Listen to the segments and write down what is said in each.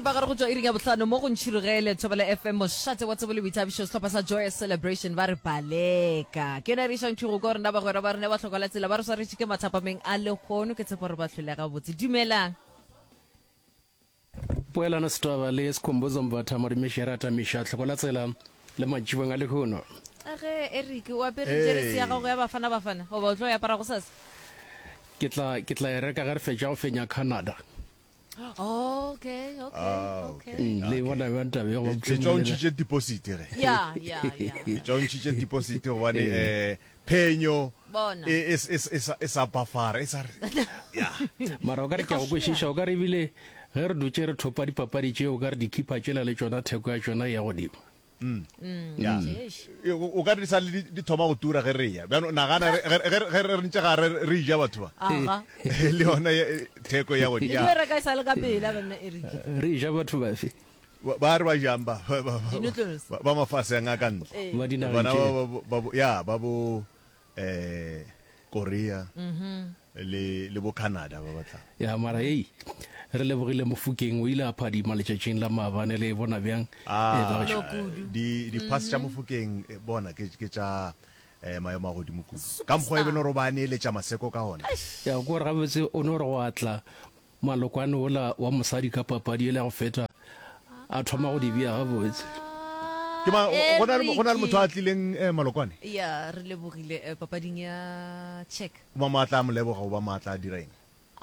Seripagare go tšwa iring ya bohlano mo go Ntšhirogele, Thobela FM, mošate wa tsebo le boithabišo, sehlopha sa Joyous Celebration ba re baleka. Ke yona e re išang thwi go kwa rena bagwera ba rena ba hloka la tsela ba re swaretše ke mathapameng a lehono. Ke tshepa gore ba hlwele gabotse. Dumelang. Poelano Setwaba le Skhumbuzo Mbatha Morimeši Rata Miša hloko la tsela le mantšibong a lehono. A ge Eric o apere jeresi ya gago ya Bafana Bafana goba o tlo e apara gosasa? Ke tla ke tla e reka ge re fetša go fenya Canada. Okay, okay, Ah, okay. okay. Mm, le bona bjang taba ye goba Ke tšwa o mohlomongwe le- ntšhitše deposit ge. Ya, ya, ya. Ke tšwa o ntšhitše deposit gobane eh phenyo Bona. e e e e sa e sa bafara e sa re. Ya. Mara o ka re ke a go kwešiša, o ka re ebile ge re dutše re thopa dipapadi tšeo, o ka re dikhipa tšela le tšona theko ya tšona e ya godimo. Ya. O ka re di sa le di thoma go tura ge re ya. Bjano nagana ge ge re ntše ga re re ja batho ba. Aga. Le yona theko ya godimo. Le reka e sa le ka pela banna Eric. Re ja batho bafe? Ba re ba jang ba Di-noodles. ba mafase a ngaka ntle. Ba dinageng Bana tše. ba ba ya ba bo eh Korea le le bo Canada ba batla. Ya mara hei re lebogile Mofokeng o ile a phadima letšatšing la maabane le e bona bjang Ah, eh ba gešo. di di pass tša Mofokeng eh, bona ke ke tša eh, maemo a godimo kudu. Ka mokgwa e be no re ba neeletša maseko ka gona. Ya ko re gabotse o no re go atla malokwane ola wa mosadi ka papadi ele ya go feta a thoma go di bea gabotse. Ke ma go na le go na le motho a tlileng eh, malokwane. Ya re lebogile eh, papading ya check. O ba maatla a mo leboga o ba maatla a dira eng?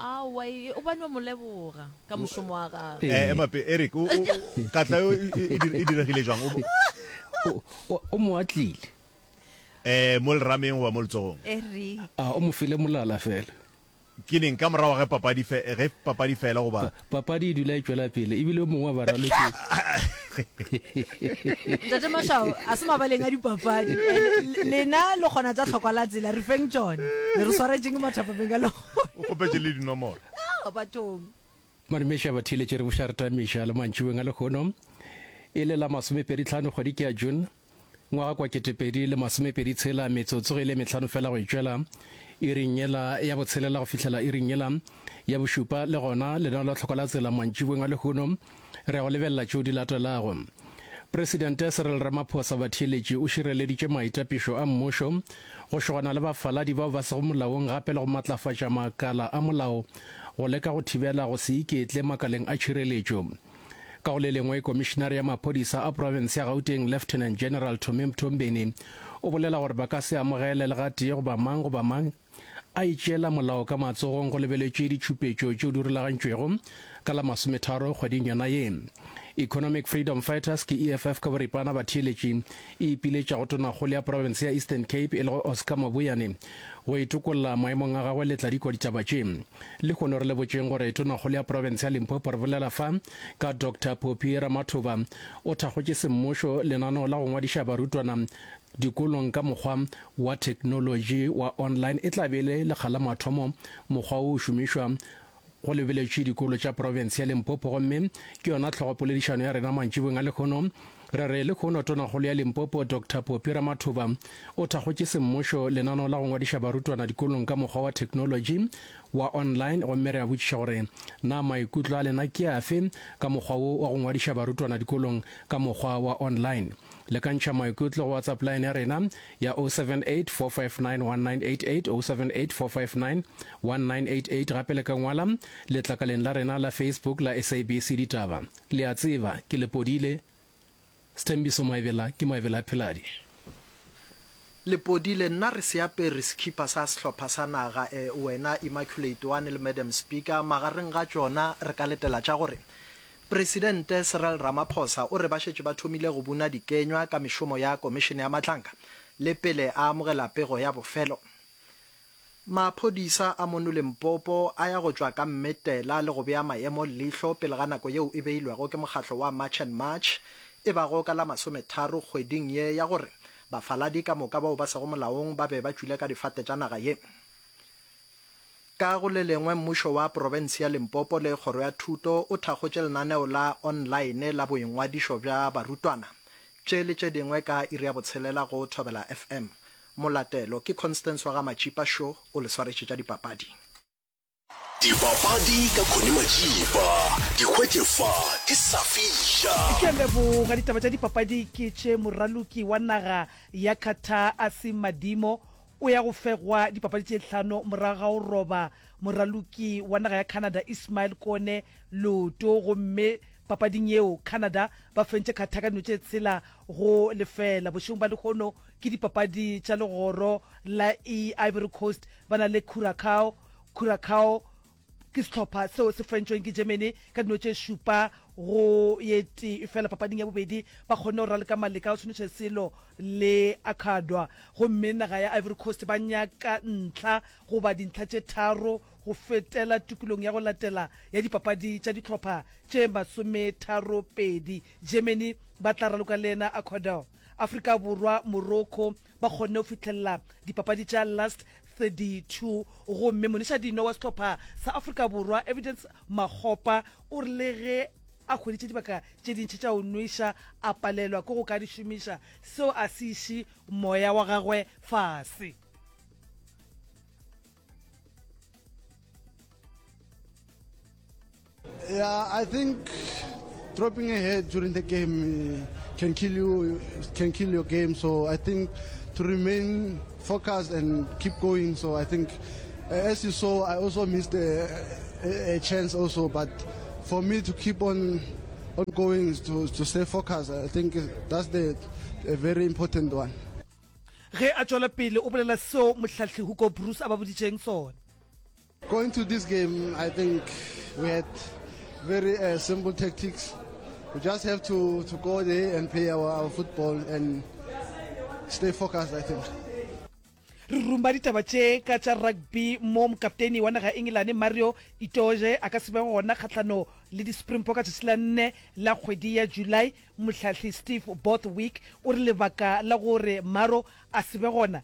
Aowa, e, o ba no mo leboga ka mošomo wa gagwe. Eh, ema pe, Eric, o, o, katla yo e, e, e diregile jwang? O, o, o mo atlile. Eh, mo lerameng goba mo letsogong? Eric. A, o mo file molala fela. Ke neng? Ka morago ge papadi fe, ge papadi fela goba? Pa, papadi e dula e tšwela pele, ebile yo mongwe wa baraloki. Ntate Mashao, a se mabaleng a dipapadi. Lena le kgona tša tlhokwa la tsela, re feng tšona. Le re swaretšeng mathapameng a lehono. O kgopetše le dinomoro. Ah, bathong. Madumeša batheeletši re buša re tamiša le mantšiboeng a lehono e le la masomepeditlhano kgwedi ke ya June Ngwaga kwa 2026, metsotso ge e le mehlano fela go e tšwela iring yela ya botshelela go fihlela iring yela ya bošupa. Le gona lenaneo la tlhoko la tsela mantšiboeng a lehono re ya go lebelela tšeo di latelago. Presidente Cyril Ramaphosa batheeletši o šireleditše maitapišo a mmušo go šogana le bafaladi bao ba sego molaong gape le go matlafatša makala a molao go leka go thibela go se iketle makaleng a tšhireletšo. Ka go le lengwe, Komišinare ya Maphodisa a profense ya Gauteng, Lieutenant General Tommy Mthombeni, o bolela gore ba ka se amogele le gatee goba mang goba mang a itšeela molao ka matsogong go lebeletšwe ditšhupetšo tšeo di rulagantšwego ka la masometharo kgweding yona ye. Economic Freedom Fighters ke EFF ka boripana batheeletši e ipiletša go tonakgolo ya profense ya Eastern Cape e lego Oscar Mabuyane go itokolla maemong a gagwe le tladikwa ditaba tše. Lehono re le botšeng gore Tonakgolo ya profense ya Limpopo re bolela fa ka Doctor Phophi Ramathuba o thakgotše semmušo lenaneo la go ngwadiša barutwana dikolong ka mokgwa wa theknolotši wa online e tla be e le lekga la mathomo mokgwa wo o šomišwa go lebeletšwe dikolo tša profense ya Limpopo gomme ke yona hlogopoledišano ya rena mantšiboeng a lehono Re re lehono Tonakgolo ya Limpopo Doctor Phophi Ramathuba o thakgotše semmušo lenaneo la go ngwadiša barutwana dikolong ka mokgwa wa theknolotši wa online gomme re a botšiša gore na maikutlo a lena ke afe ka mokgwa wo wa go ngwadiša barutwana dikolong ka mokgwa wa online. Le ka ntšha maikutlo go WhatsApp line ya rena ya 078 459 1988, 078 459 1988 gape le ka ngwala letlakaleng la rena la Facebook la SABC Ditaba. Le a tseba, ke le podile. Sthembiso Maebela ke Maebela a Pheladi. Le podile, nna re se apere sekhipa sa sehlopha sa naga, e, wena Immaculate One le Madam Speaker, magareng ga tšona re ka letela tša gore Presidente Cyril Ramaphosa o re ba šetše ba thomile go buna dikenywa ka mešomo ya Komišene ya Matlanka le pele a amogela pego ya bofelo. Maphodisa a mono Limpopo a ya go tšwa ka mmetela le go bea maemo leihlo pele ga nako yeo e beilwego ke mokgatlo wa March and March e bago ka la masometharo kgweding ye ya gore bafaladi ka moka bao ba sego molaong ba be ba tšwile ka difate tša naga ye. Ka go le lengwe mmušo wa profense ya Limpopo le kgoro ya thuto o thakgotše lenaneo la online la boingwadišo bja barutwana. Tše le tše dingwe ka iri ya botshelela go Thobela FM. Molatelo ke Constance wa ga Matšipa šo o le swaretše tša dipapadi. Dipapadi ka Connie Matšipa. Di hwetše fa di sa fiša. Ke a leboga. Ditaba tša dipapadi ke tše Moraloki wa naga ya Qatar Asim Madimo o ya go fegwa dipapadi tše hlano morago ga go roba moraloki wa naga ya Canada Ismail Kone leoto gomme papading yeo Canada ba fentše Qatar ka dino tše tshela go lefela. Bošegong ba lehono ke dipapadi tša legoro la E Ivory Coast ba na le Curacao Curacao ke sehlopha seo se fentšweng ke Germany ka dino tše šupa go ye tee, efela papading ya bobedi ba kgonne go raloka maleka a go se selo le Akadwa gomme naga ya Ivory Coast ba nyaka ntlha goba dintlha tše tharo go fetela tokolong ya go latela ya dipapadi tša dihlopha tše masometharopedi. Germany ba tla raloka le yena Ecuador. Afrika Borwa, Morocco ba kgonne go fihlelela dipapadi tša last 32 gomme monišadino wa sehlopha sa Afrika Borwa Evidence Makgopa o re le ge a hweditše dibaka tše dintši tša go nweša a palelwa ke go ka di šomiša, seo a se iše moya wa gagwe fase. Yeah, I think dropping a head during the game eh, can kill you, can kill your game. So I think to remain focused and keep going. So I think, eh, as you saw, I also missed a, a, a chance also. But for me to keep on on going to, to stay focused, I think that's the a very important one. Ge a tšwela pele o bolela seo mohlahli Hugo Broos a ba boditšeng sona. Going to this game, I think we had very uh, simple tactics. We just have to, to go there and play our, our football and stay focused, I think. Re ruma ditaba tše ka tša rugby mo mokapteni wa naga ya Engelane Mario Itoje a ka se be gona kgahlano le di-Springbok ka tšatši la nne la kgwedi ya July. Mohlahli Steve Borthwick o re lebaka la gore Maro a se be gona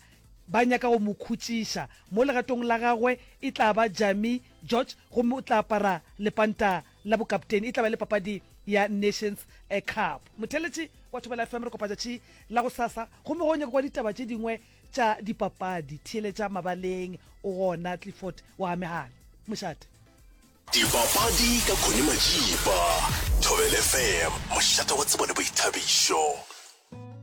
Ba nyaka go mo khutšiša. Mo legatong la gagwe e tla ba Jamie George gomme o tla apara lepanta la bokapteni. E tla ba e le papadi ya Nations Cup. Motheeletši wa Thobela FM re kopa tšatši la gosasa gomme ge o nyaka kwa ditaba tše dingwe tša dipapadi theeletša mabaleng o gona Clifford wa Megala. Mošate. Dipapadi ka Connie Majiba, Thobela FM, mošate wa tsebo le boithabišo.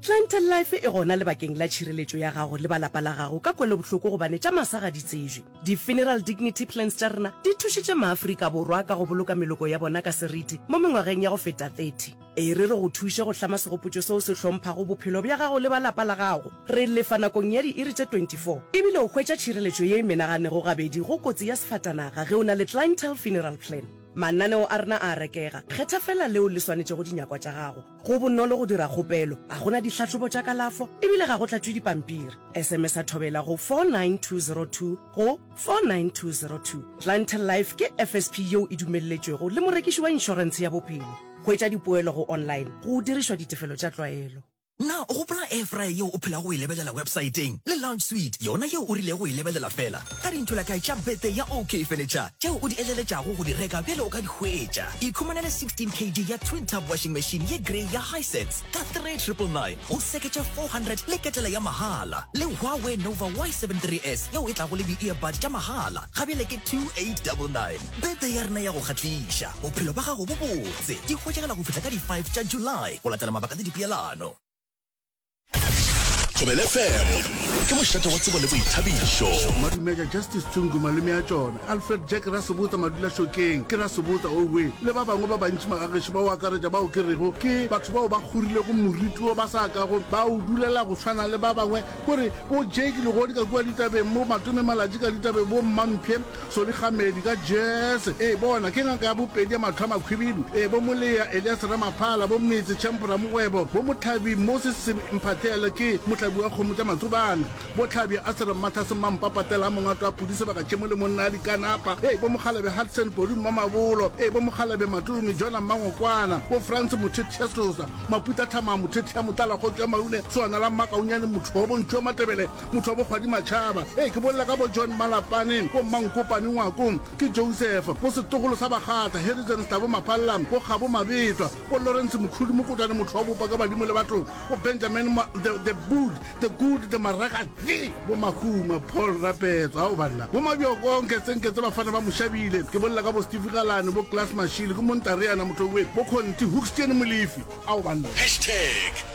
Clientele Life e gona lebakeng la tšhireletšo ya gago le ba lapa la gago ka kwelobohloko gobane tša masa ga di tsebje. Di-Funeral Dignity Plans tša rena di thušitše maAfrika Borwa ka go boloka meloko ya bona ka seriti mo mengwageng ya go feta 30. E re re go thuše go hlama segopotšo seo se hlomphago bophelo bja gago le ba lapa la gago. Re lefa nakong ya diiri tše 24 ebile o hwetša tšhireletšo ye e menaganego gabedi go kotsi ya sefatanaga ge o na le Clientele Funeral Plan. Mananeo a rena a a rekega, kgetha feela leo le swanetšego dinyakwa tša gago. Go bonolo go dira kgopelo, ga go na dihlahlobo tša kalafo e bile ga go tlatšwe dipampiri. SMS-a Thobela go 49202 go 49202. Clientele Life ke FSP yeo e dumelletšwego le morekiši wa inšorentshe ya bophelo. Hwetša dipoelo go online go dirišwa ditefelo tša tlwaelo. Na o gopola air fryer yeo o phelago o e lebelela websaeteng le lounge suite yona yeo o rilego go e lebelela feela ka dintholakae tša birthday ya OK Furniture tšeo o di eleletšago go di reka bjale o ka di hwetša? Ikhumanele 16 kg ya twin tub washing machine ye grey ya Hisense ka 3999 go seketše 400 le ketela ya mahala le Huawei Nova Y73s yeo e tlago le di-earbud tša mahala ga bjale ke 2899. Birthday ya rena ya go kgahliša, bophelo bja gago bo botse, di hwetšagala go fihla ka di 5 tša July go latela mabaka le dipeelano. Thobela FM ke mošate wa tsebo le boithabišo. Madumeja Justice Tshungu malome a tšona, Alfred Jack Rasebotsa Madulašokeng ke Rasebotsa owe le ba bangwe ba bantši magagešo ba o akaretša bao ke rego ke batho bao ba kgorilego moriti wo ba sa kago ba o dulela go swana le ba bangwe kore bo Jake Legodi ka kua ditabeng bo Matome Malatji ka ditabeng bo Mmamphe Solly Kgamedi ka Jazz, ee bona ke ngaka ya bopedi ya mahlo a makhwibidu, ee bo Molea Elias Ramaphala, bo Metse Champ Ramogwebo, bo Mohlabi Moses Mphahlele ke mohlabi wa kgomo tša Matsobane, bo Hlabi Asere Mmatlhase Mmampapatela Mongato wa Pudi Sebaka Tšemo le monna a Dikanapa, ee bo Mokgalabje Hudson Podu Mmamabolo, ee bo Mokgalabje Matome Jona Mmangokwana, bo Frans Mothethiasosa Maputa Thamang Mothethia Motlala Kgotso ya Maune Soana la Mmakaunyane Motho wa Bontšhu wa Matebele Motho wa bokgwadi Matšhaba. Ee, ke bolela ka bo John Malapane, bo Mmankopane Ngwako, ke Joseph, bo setlogolo sa Bakgatla, Harrison Stabo Maphalla, bo Kgabo Mabetwa, bo Lawrence Mokhudu Mokotwane motho wa bopa ka badimo le batho, bo Benjamin Ma, the, the Bull. The Good, The Maraka, The, bo Mahuma, Paul Rapetso, ao banna, bo Mabjoko, Nketsenketse, Bafana ba Moshabile, ke bolela ka bo Steve Galane, bo Klaas Mashile, ke Montareana Mothowe, bo Conti, Hoekstien Molefi, ao banna. Hashtag.